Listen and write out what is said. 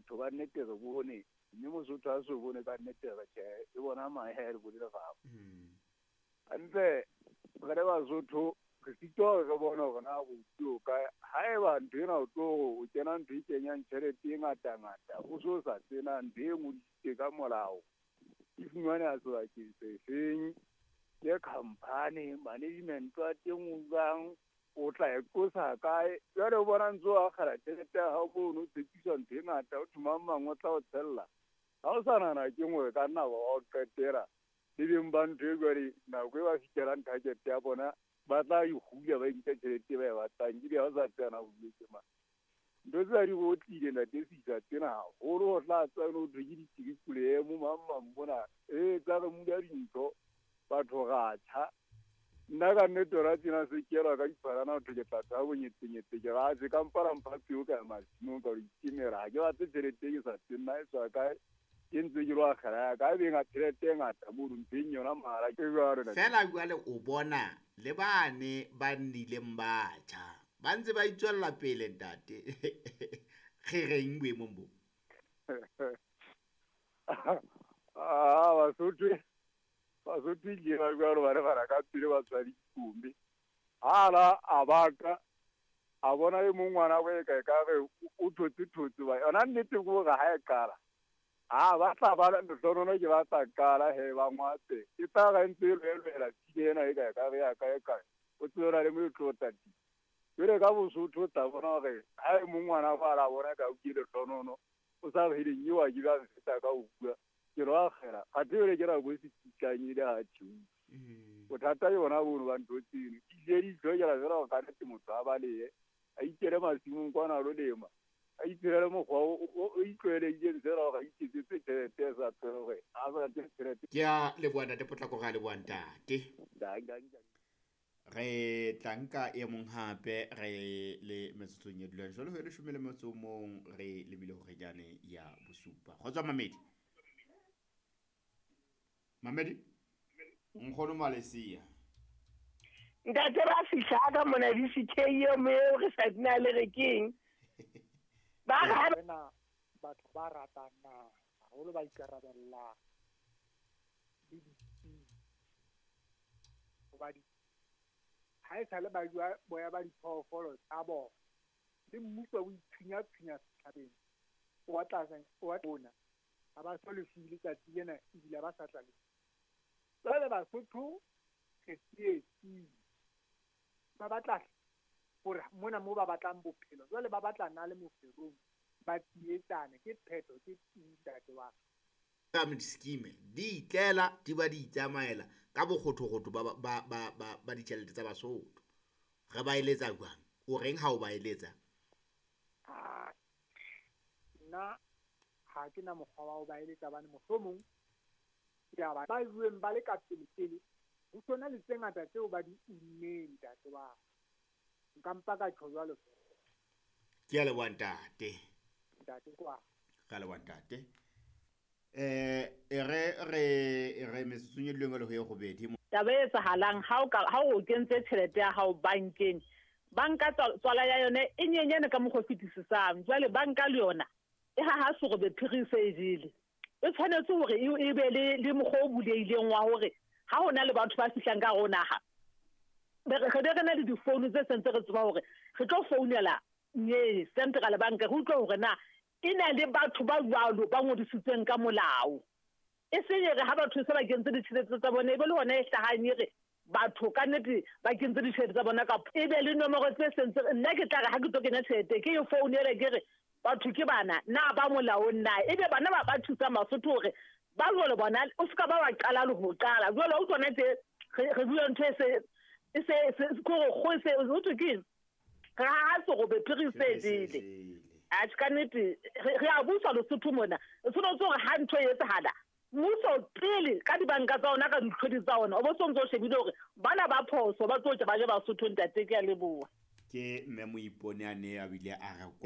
Batho ba nnete re bone, mme Mosotho a so bone ka nnete re tjhe, e bona mahe re bone leraba. Hantle re le Basotho re sitwa hore re bone hore na bopi o kae. Haeba ntho ena o tlo o kena ntho e kenyang tjhelete e ngata-ngata, o so sa tsena ntho e ngodisitswe ka molao, e fumaneha sebakeng se feng, ke company, management wa teng o jwang, o tla e qosa kae. Jwale o bona ntse o akgela tjhelete ya hao mono, o tshepiswa ntho e ngata, o thwe mang mang o tla o tshella. Ha o sa nahana ke nngwe ka nna wa o qetela. Le beng ba ntho e jwale nako e ba fihlelang target ya bona, ba tla e hula, ba inka tjhelete e ba e batlang, ebile ha o sa tseba na o huletse mang. Ntho tsena di otlile ntate Sisa tsena haholo, ho tla tswa ho thwe ke di-triple M mang mang mona. Tsa re mula dintho, batho ra tjha. Nna ka nnete hona tjena se kelwa ka diphalana ho thwe ke tla tshaba bonyetsenyetse, ke re atjhe ka mpa la mpha peo ka ya masimong ka lo itemela. Ha ke batle tjhelete e ke sa tsebeng na e tswa kae, ke ntse ke lo akgela ya ka, ebe tjhelete e ngata mono mpheng yona mahala ke jwalo. Feela jwale o bona le bane ba nnileng ba tjha, ba ntse ba itswella pele ntate. Re reng boemong bo? Basotho ke ba jwalo ba re bana ka pele ba tswa dikombe. Hala a baka a bona e mong ngwana bo e ka ka re o thotse thotse ba yona nnete ke hore ha e qala. Ha ba tla ba lehlohonololo ke ba tla qala he ba ngwatse. E tla ra ntse e lwelwela tshile ena e ka ka re ya kae kae. O tswela le mo e tlo tati. Jwale ka Bosotho o tla bona hore ha e mong ngwana ba la bona ka o ke lehlohonololo, o sa re eng eo a ke ba mfeta ka ho bua. Ke lo akgela. Athe jwale ke nako e se kitlanyile ha tjheu. Bothata ke bona bono ba ntho tseno. Di di hlokela fela hore ka nnete motho a balehe, a ikele masimong kwana a lo lema, a iphelele mokgwa o itlwaeleditseng fela hore a iketsetse tjhelete e sa tsebe hore a sa rate tjhelete. Ke a leboha ntate Potlako, re a leboha ntate. Re tla nka e mong hape re le metsotsong e dulang jwale ho e leshome le motso o mong, re lebile hore jane ya bosupa. Kgotso Mamedi. Mamedi, nkgono Malesia. Ntate ba fihla ka mona VCK eo mo eo re sa dina le re keng. Ba re rena batho ba ratang naha haholo, ba ikarabellang le ditsebi. Hoba ha e sale ba jwa boya ba diphoofolo tsa bona, le mmuso o itshunyatshunya setjhabeng, o tla wa bona. Ha ba so lefuwe letsatsi lena ebile ba sa tla lefuwa. Jwale Basotho re tsietsing, ba batla hore mona moo ba batlang bophelo, jwale ba batla na le moferong, ba tsietsane. Ke phetho, ke ntate wa ka. Pyramid scheme di itlela di ba di itsamaela ka bokgothokgotho ba ditjhelete tsa Basotho. Re ba eletsa jwang? O reng ha o ba eletsa? Nna ha ke na mokgwa wa ho ba eletsa bane mohlomong ke a ba ba bueng ba le ka pele pele, ho sona le tse ngata tseo ba di unneng ntate wa ka. Nka mpa ka tjho jwalo. Ke a leboha ntate. Ntate kwa. Ke a leboha ntate. Re metsotsong e leng le ho ye robedi. Taba e etsahalang ha o ka ha o kentse tjhelete ya hao bankeng, banka tswala ya yona e nyenyane ka mokgwa o fetisisang. Jwale banka le yona e haha serobe phiri se e jele. E tshwanetse hore e be le mokgwa o bulehileng wa hore ha hona le batho ba fihlang ka hare ho naha, re be re na le difounu tse sentse re tseba hore re tlo founela nye Central Bank, re utlwe hore na e na le batho ba jwalo ba ngodisitsweng ka molao. E seng e re ha batho se ba kentse ditjhelete tsa bona, e be le hona e hlahang e re batho ka nnete ba kentse ditjhelete tsa bona ka e be le nomoro tse sentse. Nna ke tla re ha ke tlo kenya tjhelete ke e founele ke re batho ke bana na ba molaong na, ebe bana ba thusang Basotho hore ba jwalo bona o ska ba wa qala le ho qala. Jwale o tsona tse re bua ntho e se kore go se o thwe ke re ha se go be phiri se jele. Atjhe ka nnete re a busa Lesotho mona. O tshwanetse hore ha ntho e etsahala, mmuso pele ka dibanka tsa ona, ka ditlhodi tsa ona, o bo sontso o shebile hore bana ba phoso ba tlo tla ba je Basotho. Ntate, ke a leboha. Ke mme Moipone a ne a bile a re